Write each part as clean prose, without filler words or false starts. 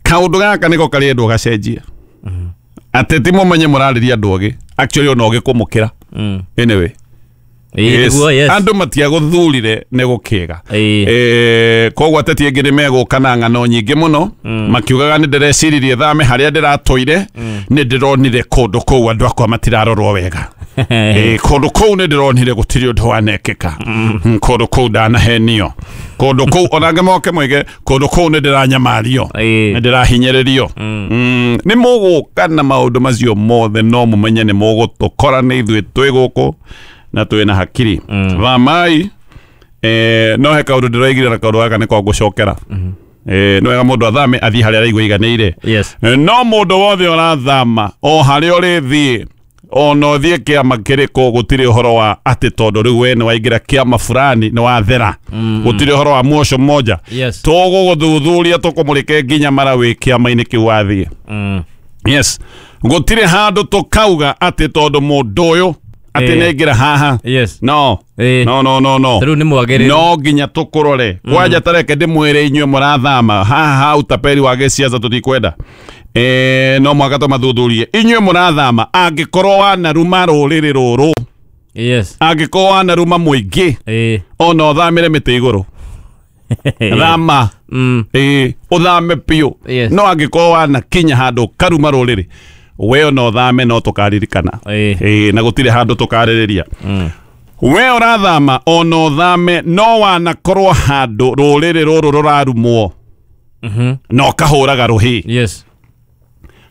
Kaũndũ gaka nĩko karĩendwo gacenjie. Ateti mũmenye mũrarĩria andũ ogĩ, actually ona ogĩ kũmũkĩra. Anyway. Ĩĩ, nĩguo, yes. Andũ matiagũthurire nĩ gũkĩga. Koguo ateti aingĩ nĩ megũka na ng'ano nyingĩ mũno, makiugaga nĩ ndĩreciririe thame harĩa ndĩratũire, nĩ ndĩronire kũndũ kũu andũ akwa matirarorwo wega. Kũndũ kũu nĩ ndĩronire gũtirĩ ũndũ wanekĩka. Kũndũ kũu ndanahenio, kũndũ kũu ona angĩ moke moige kũndũ kũu nĩ ndĩranyamario, nĩ ndĩrahinyĩrĩrio. Nĩ mũgũka na maũndũ macio mothe, no mũmenye nĩ mũgũtũkora nĩ ithuĩ twĩ gũkũ na twĩ na hakiri. Thamai. No he kaũndũ ndĩroigire na kaũndũ gaka nĩko ngũcokera. Nĩ wega mũndũ athame athiĩ harĩa araigua iganĩire. No mũndũ wothe ũrathama o harĩa ũrĩthiĩ, ona ũthiĩ kĩama kĩrĩkũ, gũtirĩ ũhoro wa atĩ tondũ rĩu we nĩ waingĩra kĩama fulani nĩ wathera. Gũtirĩ ũhoro wa muosho mmoja. Tũgũgũthuthuria tũkũmũrĩke nginya mara wĩ kĩama-inĩ kĩu wathiĩ. Yes, gũtirĩ handũ tũkauga atĩ tondũ mũndũ ũyũ atĩ nĩ aingĩra haha. No. No, no, no, no. Rĩu nĩ mwagĩrĩru. No nginya tũkũrore kwanja. Tareke ndĩmwĩre inyuĩ mũrathama haha ha utaperi wa gĩciaca tũtikwenda. No mwaka tũmathuthurie inyuĩ mũrathama, angĩkorwo wanaruma rũrĩrĩ rũrũ, angĩkorwo wanaruma mũingĩ, ona ũthamĩre mĩtĩ igũrũ, thama. Ũthame biũ. No angĩkorwo wanakinya handũ karuma rũrĩrĩ, we ona ũthame no tũkaririkana. Na gũtirĩ handũ tũkarĩrĩria. We ũrathama, ona ũthame, no wanakorwo handũ rũrĩrĩ rũrũ rũrarumwo na ũkahũraga rũhĩ,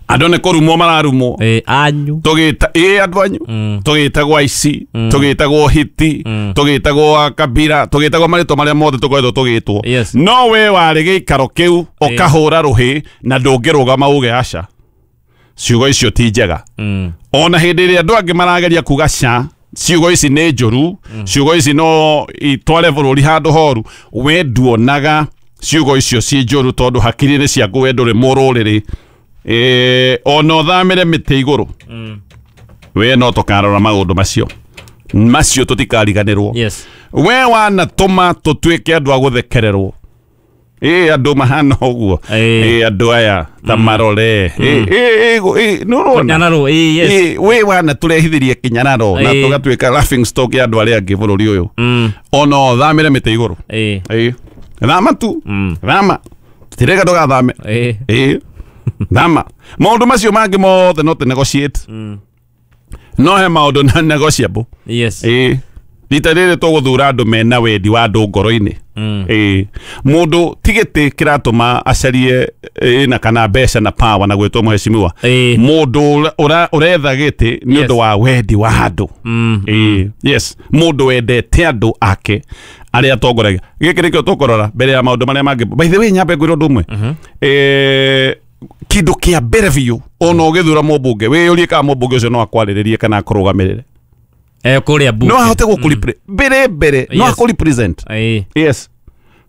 andũ nĩ kũrumwo mararumwo. Anyu. Tũgĩta andũ anyu, tũgĩtagwo aici, tũgĩtagwo hiti, tũgĩtagwo a kabira, tũgĩtagwo marĩtwa marĩa mothe tũkoretwo tũgĩtwo. No we warĩ gĩikaro kĩu ũkahũra rũhĩ na ndũngĩrũgama uge aca, ciugo icio ti njega, ona hĩndĩ ĩrĩa andũ angĩ marageria kuga ca ciugo ici nĩ njũru, ciugo ici no itware bũrũri handũ horu, we nduonaga ciugo icio ci njũru tondũ hakiri-inĩ ciaku we ndũrĩ mũrũrĩrĩ. Ona ũthamĩre mĩtĩ igũrũ, we no tũkarora maũndũ macio, macio tũtikariganĩrwo. We wanatũma tũtuĩke andũ a gũthekererwo. Andũ mahana ũguo. Andũ aya ta marore. Nĩ ũrona? Kĩnyararo, yes. We wanatũrehithĩrie kĩnyararo na tũgatuĩka laughing stock ya andũ arĩa angĩ bũrũri ũyũ. Ona ũthamĩre mĩtĩ igũrũ. Thama tu. Thama, tirega ndũgathame. Thama. Maũndũ macio mangĩ mothe no tũ negotiate, no he maũndũ na negotiable. Rita rĩrĩ tũgũthura andũ mena wendi wa andũ ngoro-inĩ. Mũndũ ti gĩtĩ kĩratũma acarie na kana mbeca na power na gwĩtwo mheshimiwa. Mũndũ ũretha gĩtĩ nĩ ũndũ wa wendi wa andũ. Yes, mũndũ wendete andũ ake arĩa atongoragia. Gĩkĩ nĩkĩo tũkũrora mbere ya maũndũ marĩa mangĩ. By the way, nyambe ngwĩre ũndũ ũmwe. Kĩndũ kĩa mbere biũ, ona ũgĩthura mũmbunge, wĩyũrie kana mũmbunge ũcio no akwarĩrĩrie kana akũrũgamĩrĩre. Kũrĩa bunge. No ahote gũkũ mbere mbere, no akũ represent. Yes,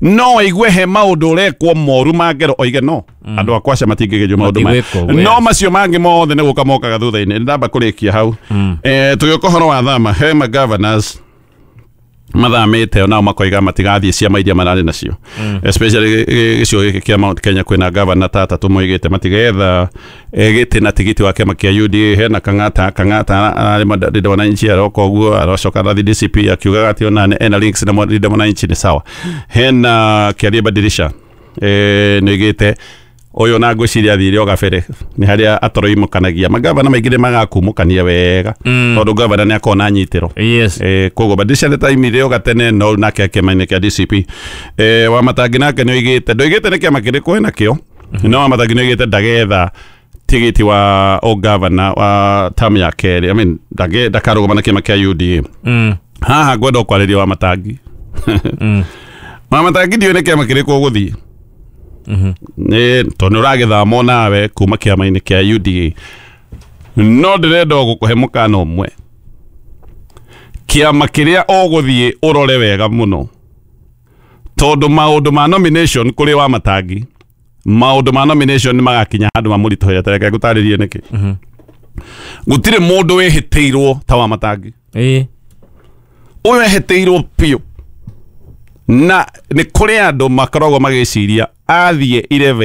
no aigue he maũndũ ũrekwo moru ma ngero oige no andũ akwa aca matingĩgerio maũndũ maya. Matigwĩkwo ũguo, No yes. macio mangĩ mothe nĩ gũka mokaga thutha-inĩ. Ndamba kũrĩkia hau. Tũgĩũka ũhoro wa thama, he ma governors mathamĩte onao makoiga matigathiĩ ciama iria mararĩ nacio, especially gĩcigo gĩkĩ kĩa Mount Kenya kwĩna governor ta atatũ moigĩte matigetha gĩtĩ na tigiti wa kĩama kĩa UDA. Hena Kang'ata. Kang'ata ararĩ Linda Mwananchi, aroka ũguo arocoka arathiĩ DCP akiugaga atĩ ona ena links na Linda Mwananchi. Nĩ sawa. Hena Kĩarie Badirisha, nĩoigĩte ũyũ na ngwĩciria athire o gabere nĩ harĩa atoroimũkanagia. Magavana maingĩ nĩ magakumũkania wega tondũ gavana nĩ akorwo na nyitĩro. Koguo Badirisha nĩ taimire o gatene, no nake kĩama-inĩ kĩa DCP. Wamatangi nake nĩ oigĩte, ndoigĩte nĩ kĩama kĩrĩkũ enakĩo, no Wamatangi nĩ oigĩte ndagetha tigiti wa ũgavana wa term ya kerĩ, I mean, ndakarũgama na kĩama kĩa UDA. Haha ngwenda kwarĩria Wamatangi. Wamatangi, ndiũĩ nĩ kĩama kĩrĩkũ ũgũthiĩ, nĩ tondũ nĩ ũragĩthama nawe kuma kĩama-inĩ kĩa UDA, no ndĩrenda o gũkũhe mũkana ũmwe. Kĩama kĩrĩa ũgũthiĩ ũrore wega mũno, tondũ maũndũ ma nomination kũrĩ Wamatangi, maũndũ ma nomination nĩ magakinya handũ mamũritũhĩre. Tareke ngũtarĩrie nĩkĩ. Gũtirĩ mũndũ wĩhĩtĩirwo ta Wamatangi. Ũyũ ehĩtĩirwo biũ. Na nĩ kũrĩ andũ makoragwo magĩciria athiĩ 11.